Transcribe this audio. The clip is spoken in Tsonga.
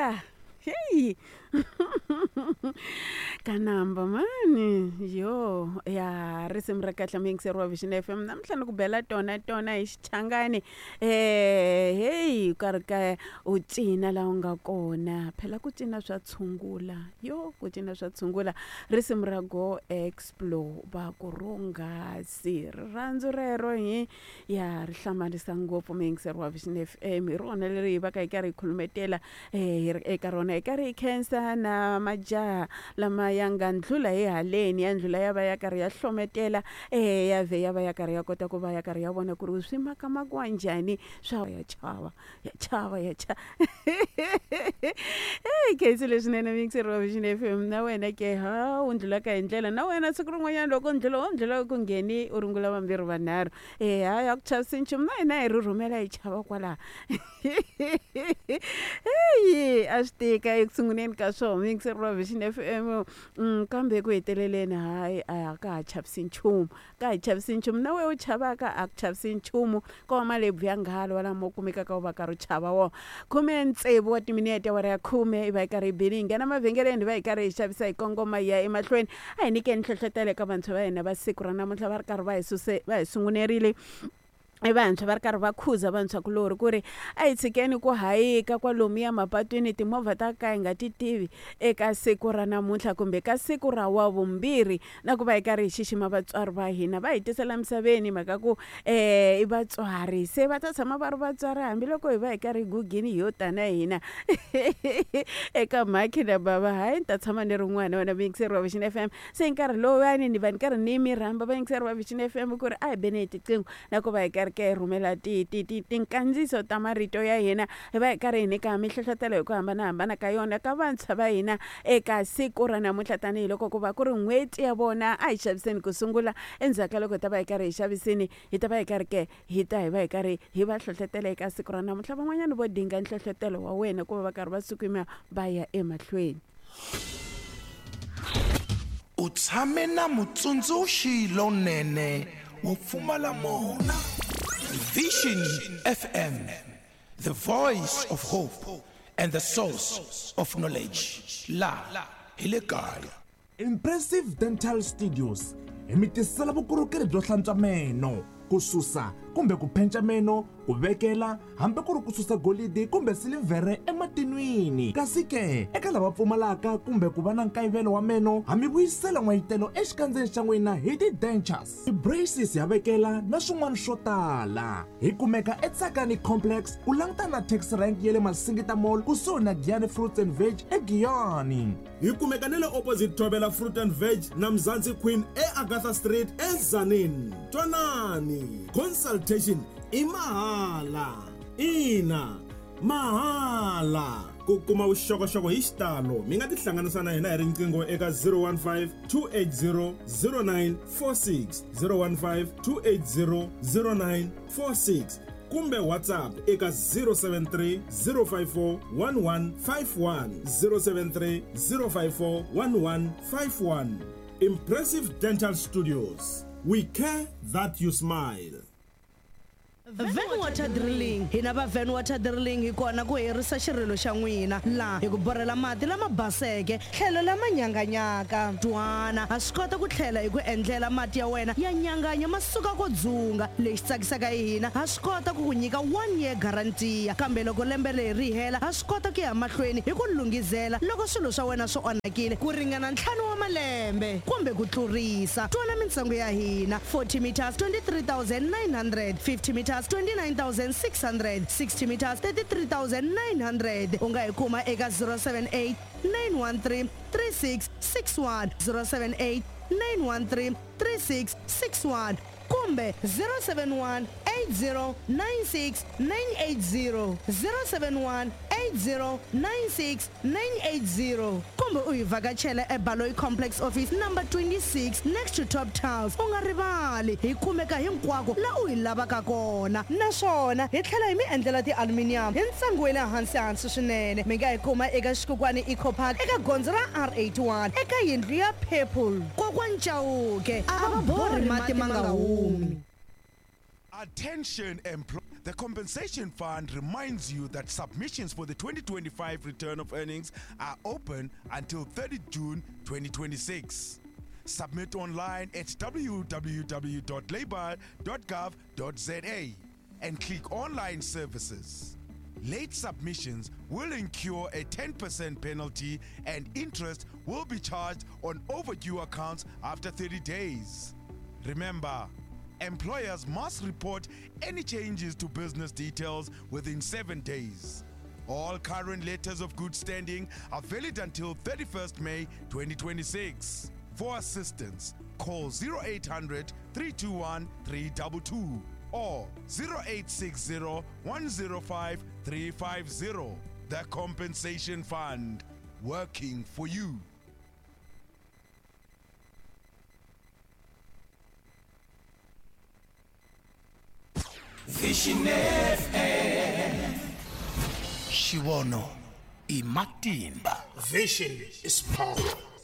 Ya heyi ka namba mani yo ya risimu ra kahle muyingiseri wa Vision FM namuntlha ni ku bela tona tona hi xichangani heyi u karhi ka u cina laha u nga kona phela ku cina swa tshungula yo ku cina swa tshungula risimu ra go explore va ku ronghasi rirhandzu rero hi ya ri hlamarisa ngopfu muyingiseri wa Vision FM hi rona leri hi va ka hi karhi hi khulumetela hi ri eka rona hi karhi hi khensa na majaha lama ya nga ndlula hi haleni ya ndlula ya va ya karhi ya hlometela ya vhe ya va ya karhi ya kota ku va ya karhi ya vona ku ri swi makamakiwa njhani swa ya chava ya chava ya chava eyi khensi leswinene muyingiseri wa Vision FM na wena ke ha u ndlulaka hi ndlela na wena siku rin'wanyana loko ndlula wo ndlula ku ngheni u rungula vambirhi vanharhu e hayi a ku chavisi nchumu na hina hi rhurhumela hi chava kwalaha heyi a swi tika eku sunguleni ka swona muyingiseri wa Vision FM kambe eku heteleleni hayi a ka ha chavisi nchumu ka ha chavisi nchumu na wena u chavaka a ku chavisi nchumu ko va malebvu ya nghala lama u kumekaka u va karhi u chava wona khume tsevu wa timinete awara ya khume i va yi karhi yi bile hi nghena mavhengeleni hi va hi karhi hi xavisa hi kongoma hi ya emahlweni a hi nyikeni nhlohlotelo eka vantshwa va hina va siku ra namuntlha va ri karhi va hi suse va hi sungunerile i vantshwa va ri karhi va khuza vantshwakulorhi ku ri a hi tshikeni ku hayika kwalomuya mapatwini timovha ta ka hi nga ti tivi eka siku ra namuntlha kumbe ka siku ra wa vumbirhi na ku va hi karhi hi xixima vatswari va hina va hi tisela misaveni mhaka ku um i vatswari se va ta tshama va ri vatswari hambiloko hi va hi karhi hi gugini hi yo tana hina eka mhakhi na bava hayi ni ta tshama ni ri n'wana wena muyingiseri wa Vision FM se nkarhi lowuyani ni va ni karhi ni mi rhamba vayingiseri va Vision FM ku ri a hi beni hi tiqingho na ku va hi karhi ka hi rhumela ti ti ti tinkandziyiso ta marito ya hina hi va hi karhi hi nyika mihlohlotelo hi ku hambanahambana ka yona ka vantshwa va hina eka siku ra namuntlha tanihiloko ku va ku ri n'hweti ya vona a hi xaviseni ku sungula endzhaku ka loko hi ta va hi karhi hi xavisini hi ta va hi karhi ke hi ta hi va hi karhi hi va hlohlotela eka siku ra namuntlha van'wanyana vo dinga nhlohlotelo wa wena ku va va karhi va sukuma va ya emahlweni U tshame na mutsundzuxi lonene wo pfumala mona. Vision FM, the voice of hope and the source of knowledge. La hi le kaya. Impressive Dental Studios hi mi tisela vukorhokeri byo hlantswa meno, ku susa kumbe ku phenca meno, ku vekela hambi ku ri ku susa golidi kumbe silivhere ematinwini. Kasi ke, eka lava pfumalaka kumbe ku va na nkayivelo wa meno, ha mi vuyisela n'wayitelo exikandzeni xa n'wina hi ti-dentures, ti-braces ha vekela na swin'wana swo tala. Hi kumeka eTsakani Complex ku langutana na taxi rank ya le Masingita Mall kusuhi na Giyani Fruits and Veg eGiyani. Hi kumeka na le opposite Thobela Fruit and Veg na Mzansi Queen eAgatha Street eTzaneen. Twanani, consultation i mahala. Ina, mahala. Ku kuma vuxokoxoko hi xitalo mi nga tihlanganisa na hina hi riqingho eka 015 280 0946 015 280 0946 kumbe WhatsApp eka 073 054 1151 073 054 1151. Impressive Dental Studios. We care that you smile. Van Water Drilling Hina va Van Water Drilling hi kona ku herisa xirilo xa n'wina laha hi ku borhela mati lama baseke tlhelo lama nyanganyaka. Twana, ha swi kota ku tlhela hi ku endlela mati ya wena ya nyanganya ma suka ko dzunga. Lexi tsakisaka hi hina, ha swi kota ku ku nyika one year guarantee kambe loko lembe leri ri hela ha swi kota ku ya mahlweni hi ku lunghizela loko swilo swa wena swi onhakile ku ringana ntlhanu wa malembe kumbe ku tlurisa. Twana mintsengo ya hina, 40 meters 23,900, 50 meters 29,600, 60 meters 33,900. U nga hi kuma eka 078 913 3661, 078 913 3661 kumbe 071 8096 980, 071 8096 980 kumbe u hi vhakachela eBaloyi Complex Office number 26 next to Top Tiles. U nga rivali hi kumeka hinkwako la u hi lavaka kona naswona hi tlhela hi mi endlela ti-aluminium hi ntsengo wa le hansi hansi swinene. Mi nga hi kuma eka Xikukwani Eco Park eka gondzo ra R81 eka yindlu ya purple. Kokwani Chauke a va borhi mati ma nga humi. Attention employees. The Compensation Fund reminds you that submissions for the 2025 return of earnings are open until 30 June 2026. Submit online at www.labour.gov.za and click Online Services. Late submissions will incur a 10% penalty and interest will be charged on overdue accounts after 30 days. Remember, employers must report any changes to business details within 7 days. All current letters of good standing are valid until 31st May 2026. For assistance, call 0800 321 322 or 0860 105 350. The Compensation Fund, working for you. Vision FM. Xivono i matimba. Vision is power.